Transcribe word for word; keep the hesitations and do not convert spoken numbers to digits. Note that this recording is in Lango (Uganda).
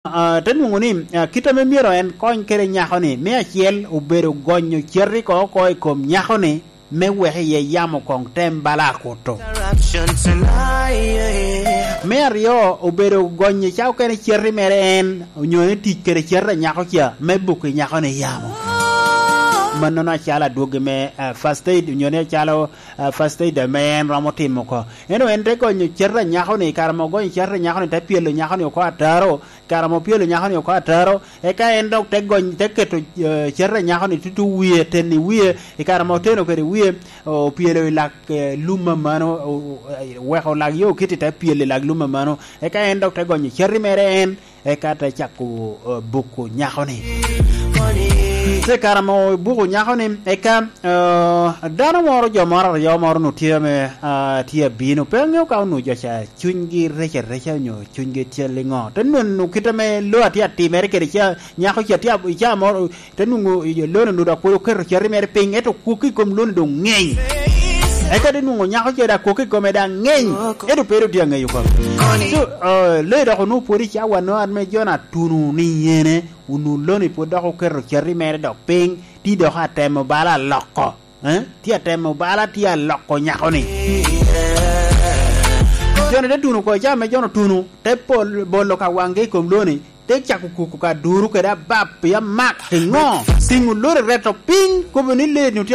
Ah, te nwoŋo ni, ah, kit ame myero en kony kede nyako-ni, me acel obedo gonyo cati oko oko i kom nyako-ni, me wek iye yamo koŋ tem bala akuto. Me aryo, obedo gonyo ca okene cati mere en, onyo ni tic kede cati a nyako ca, me buko i nyako-ni yamo. Mannono acalo adwogi me, ah, first aid, onyo ni acalo, ah, first aid ame en romo timo oko. Ento en te gonyo cati a nyako-ni, kare ma ogonyo cati a nyako-ni, te pyelo nyako-ni oko ataro, kare ma opyelo nyako-ni oko ataro, eka en dok te gony, te keto, eh, cati a nyako-ni tutu wie, teni wie, i kare ma oteno kede wie, opyelo i lak, eh, lum amano, o-, o-, weko lak yo okiti te pyelo i lak lum amano, eka en dok te gonyo cati mere en, eka te cako, eh, buko nyako-ni. Te kare ma obuko nyako-ni, eka, eh, dano moro, jo moro aryo moro onwoŋo tye ame, ah, tye abino, pe aŋeo ka onwoŋo jo ca cunygi rec areca onyo cunygi tye liŋo. Te nwoŋo kit ame lo atye atimere kede ca, nyako ca tye ab-, i caa moro, te nwoŋo i lo-ni onwoŋo dok pwod oketo cati mere piny, ento kwok i kom lo-ni doŋ ŋeny. Eka te nwoŋo nyako ca dok kwok i kome daŋ ŋeny, ento pe doŋ tye aŋeyo kome. So, eh, lo-ni dok onwoŋo pwod i cawa-nu ame jo-ni atuno ni yene, onwoŋo lo-ni pwod dok oketo cati mere dok piny, tye dok atemo bala aloko. Eh? Tye atemo bala, tye aloko nyako-ni. Jo-ni te tuno oko, i caa ame jo-ni otuno, te pol-, bolo ka waŋgi i kom lo-ni, te cako kuku ka duru kede abap i amak, i ŋo? Tiŋo lo-ni reto piny, kobo ni lee-ni otye